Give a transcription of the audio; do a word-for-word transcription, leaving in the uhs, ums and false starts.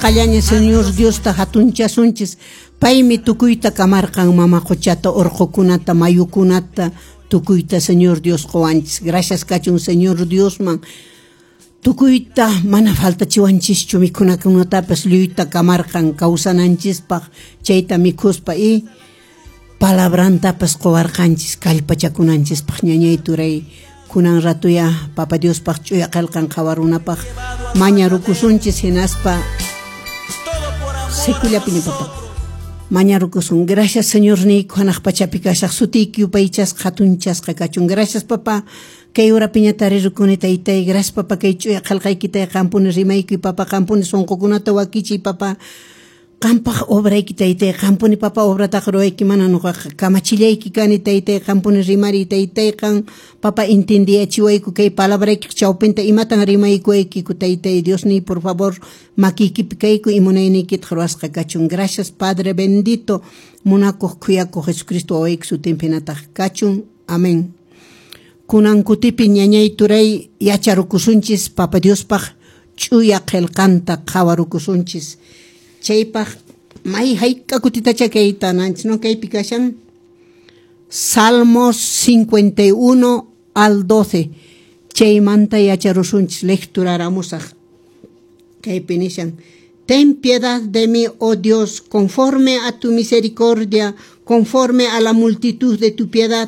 Qallaña Señor Diosta hatunchasunchis. Paymi tukuyta kamarqan, mama quchata, urqukunata, mayukunata, tukuyta Señor Dios qowanchis. Gracias kachun Señor Diosman. Tukuyta mana faltachiwanchischu, mikhunakunatapas lluyta kamarqan kawsananchispaq, chayta mikhuspa y palabrantapas qowarqanchis kallpachakunanchispaq. Ñañay, turay, kunan ratuya Papa Diospaq ch'uya qillqan qhawarunapaq mañarukusunchis, hinaspa sikullapiña, papa, mañarukusun. Gracias, Señor niyku, hanaq pachapi kashaq, sutiyki yupaychasqa, hatunchasqa kachun. Gracias, papa, kay urapiña tarirukuni, taytay. Gracias, papa, kay ch'uya qillqaykitay qampuni rimaykuy, papa, qampuni sunqukunata wakichiy, papa, qampaq obrayki, taytay. Qampuni, papa, obrataqa ruwayki, mana nuqaqa kamachillayki kani, taytay. Qampuni rimariy, taytay. Qan, papa, entendiyachiwayku kay palabraykiq chawpinta imatan rimaykuwaykiku, taytay. Diosniy, por favor, makiykipi kayku y munayniykitaq ruwasqa kachun. Gracias, Padre bendito. Munakuq, khuyakuq Jesucristo wawayki sutinpinataq kachun. Amén. Kunan kutipi, ñañay, turay, yacharukusunchis Papa Diospaq ch'uya qillqanta qhawarukusunchis. Chaypaq may hayk'a kutitacha kayta nanchis, no? Kaypi kashan Salmos cincuenta y uno al doce, chaymanta yacharusunchis. Lecturaramusaq. Kaypi nishan: "Ten piedad de mí, oh Dios, conforme a tu misericordia, conforme a la multitud de tu piedad."